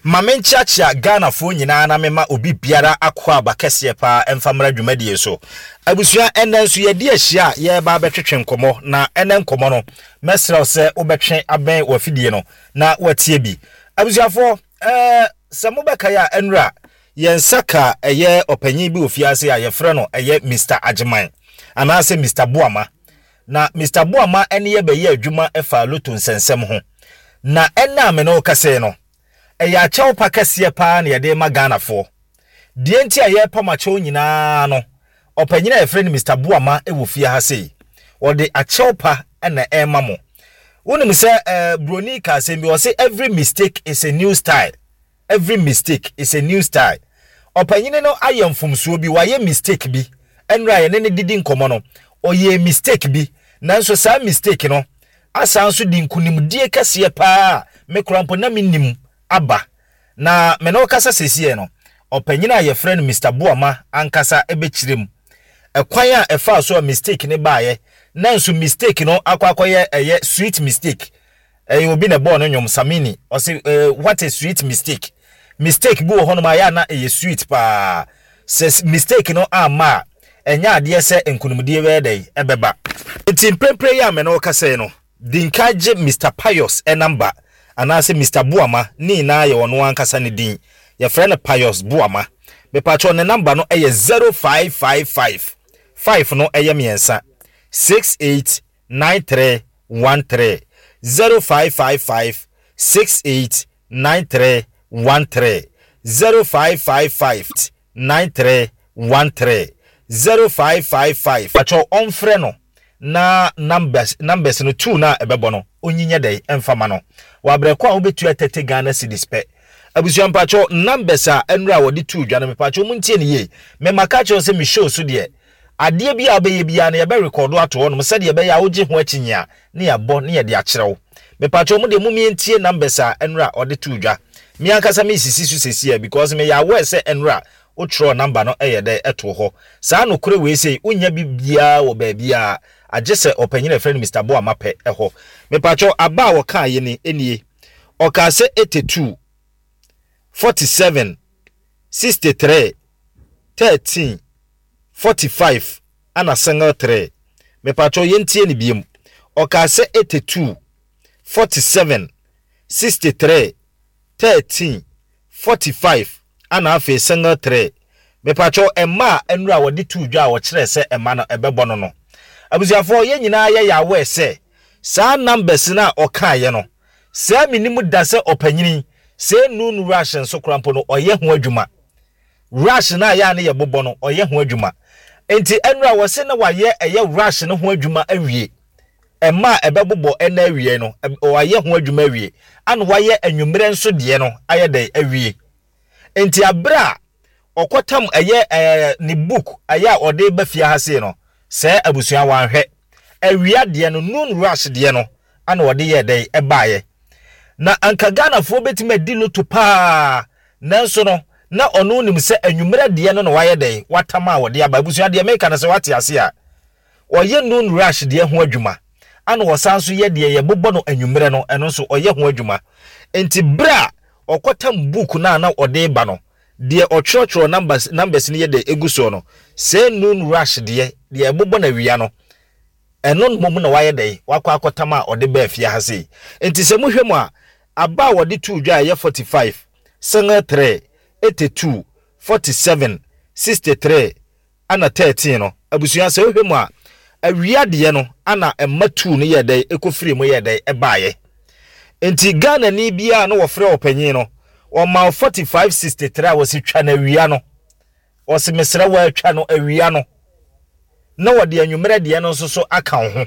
Ma menkyeakyea Ghanafoɔ nyinaa na mema obi biara akwaaba kɛseɛ paa mfa mmra dwumadie so. Abusua, ɛnnɛ nso yɛadi ahyia a yɛreba abɛtwetwe nkɔmmɔ, na ɛnnɛ nkɔmmɔ no, mɛsrɛ wo sɛ wobɛtwe abɛn w'afidie no na woatie bi. Abusuafoɔ, ɛɛ, sɛ mobɛkae a, ɛnnora yɛn nsa ka ɛyɛ ɔpanyin bi wɔ fiase a yɛfrɛ no ɛyɛ Mister Agyeman anaasɛ Mister Boama. Na Mister Boama ne yɛ bɛyɛɛ adwuma faa loto nsɛnsɛm ho. Na ɛnnɛ a me ne wo kasa yi no, ɛyɛ akyɛw pa kɛseɛ paa na yɛde rema Ghanafoɔ. Deɛ nti a yɛrepam akyɛw nyinaa no, ɔpanyin a yɛfrɛ no Mister Boama wɔ fie ha sei, ɔde akyɛw pa na ɛrema mo. Wonim sɛ eh, Buroni ka asɛm bi, ɔse every mistake is a new style. Every mistake is a new style. Ɔpanyini no ayɛ mfomsoɔ bi, wayɛ mistake bi. Ɛnora a yɛne no didi nkɔmmɔ no, ɔyɛɛ mistake bi. Nanso saa mistake no asan nso de nkunimdie kɛseɛ paa a me koraa mpo na mennim aba. Na me ne wo kasa seesei no, ɔpanyini a yɛfrɛ no Mister Boamah ankasa bɛkyerɛ mu ɛkwan a ɛfaa so a mistake no baeɛ, nanso mistake no akɔ akɔyɛ ɛyɛ sweet mistake. Ɛyɛ obi na ɛbɔɔ no nnwom, Samini. Ɔse, eh, what a sweet mistake. Mistake bi wɔ hɔnom a ɛyɛ a na ɛyɛ sweet paa. Sɛ mistake no amma a, ɛnyɛ adeɛ sɛ nkunimdie bɛyɛ dɛn? Ɛbɛba. Nti mprempren yi a me ne wo kasa yi no, di nkan gye Mister Pius number, anaasɛ Mister Boamah, ne nyinaa yɛ ɔno ankasa ne din. Yɛfrɛ no Pius Boamah. Mepakyɛw ne number no yɛ 0555, five no yɛ mmiɛnsa, 68 9313 0555 68 9313 0555 9313 0555. Pakyɛw ɔnfrɛ no na numbers numbers no two no a ɛbɛbɔ no onyi nyɛ dɛn ɛnfa ma no wɔ abrɛ ko a wobɛtua 30 Ghana cedis pɛ. Abusua mpakyɛw numbers a ɛnora a wɔde too dwa no mepakyɛw montie no yie. Me maka akyerɛ wo sɛ me show so deɛ Adeɛ biara a wobɛyɛ biara no yɛbɛ rekɔɔdo ato hɔnom sɛdeɛ ɛbɛyɛ a wogye ho akyinnye a ne yɛabɔ ne yɛde akyerɛ wo. Mepakyɛw mo deɛ mom yɛntie numbers a ɛnora ɔde too dwa. Me ankasa mesisi so sesiɛ because meyɛ aware sɛ ɛnora wotwerɛɔ number no yɛ dɛn ɛtoo hɔ. Saa nokorɛ wei sei wonnya bi biara wɔ baabiara agyesɛ ɔpanyin a yɛfrɛ no Mister Boamah pɛ hɔ. Mepakyɛw aba a ɔkaeɛ ni nie. Ɔkaa sɛ 82, 47, 63, 13. 45 ana single 3 mepakyɛw yɛntie no biom ɔkaa sɛ 82 47 63 13 45 ana afei single 3 mepakyɛw ɛma a nnura a wɔde too dwa a wɔkyerɛɛ sɛ ɛma no ɛbɛbɔ no no abusuafoɔ yɛn nyinaa yɛyɛ aware sɛ saa numbers no a ɔkaeɛ no sɛɛ menim da sɛ ɔpanyini sɛɛ noon rush nso koraa mpo no ɔyɛ ho adwuma Rush no a ɛyɛ a ne yɛbobɔ no, ɔyɛ ho adwuma. Enti ɛnora wɔse na wayɛ ɛyɛ rush no ho adwuma awie. Ɛma a ɛbɛbobɔ ɛna awiei no, wayɛ ho adwuma awie. Ana wayɛ anwummerɛ nso deɛ no ayɛ dɛn awie. Enti aberɛ a ɔkɔtam ɛyɛ ɛɛ ne book ɛyɛ a ɔde ba fie ha sei no, sɛɛ abusua wanhwɛ. Awia deɛ no, noon rush deɛ no, ana ɔde yɛɛ dɛn ɛbaeɛ. Na anka Ghanafoɔ bɛtumi adi loto paa Nanso no, na ɔno nim sɛ anwummerɛ deɛ no na wayɛ dɛn? Watam a ɔde aba. Abusua, deɛ meka no sɛ woate aseɛ a, ɔyɛ noon rush deɛ ho adwuma, ana ɔsan nso yɛ deɛ yɛbobɔ no anwummerɛ no, ɛno nso ɔyɛ ho adwuma. Enti berɛ a ɔkɔtam book no a na ɔde reba no, deɛ ɔtwerɛtwerɛ numbers, numbers no yɛ dɛn ɛgu soɔ no, sɛɛ noon rush deɛ, deɛ ɛbobɔ no awia no, ɛno mmom na wayɛ dɛn? Wakɔ akɔtam a ɔde baa fie ha sei. Enti sɛ mohwɛ mu a, aba a wɔde too dwa a ɛyɛ 45, single 3, 82, 47, 63, ɛna 13 no, abusua sɛ wohwɛ mu a, awia deɛ no ana ɛma tuu no yɛɛ dɛn ɛkɔfirii mu yɛɛ dɛn ɛbaeɛ. Nti Ghanani biara na wɔfrɛ ɔpanyin no, ɔma wo 45, 63 a wɔsi twa no awia no, wɔsi mesrɛ wo atwa no awia no, na wɔde anwummerɛ deɛ no nso so aka wo ho.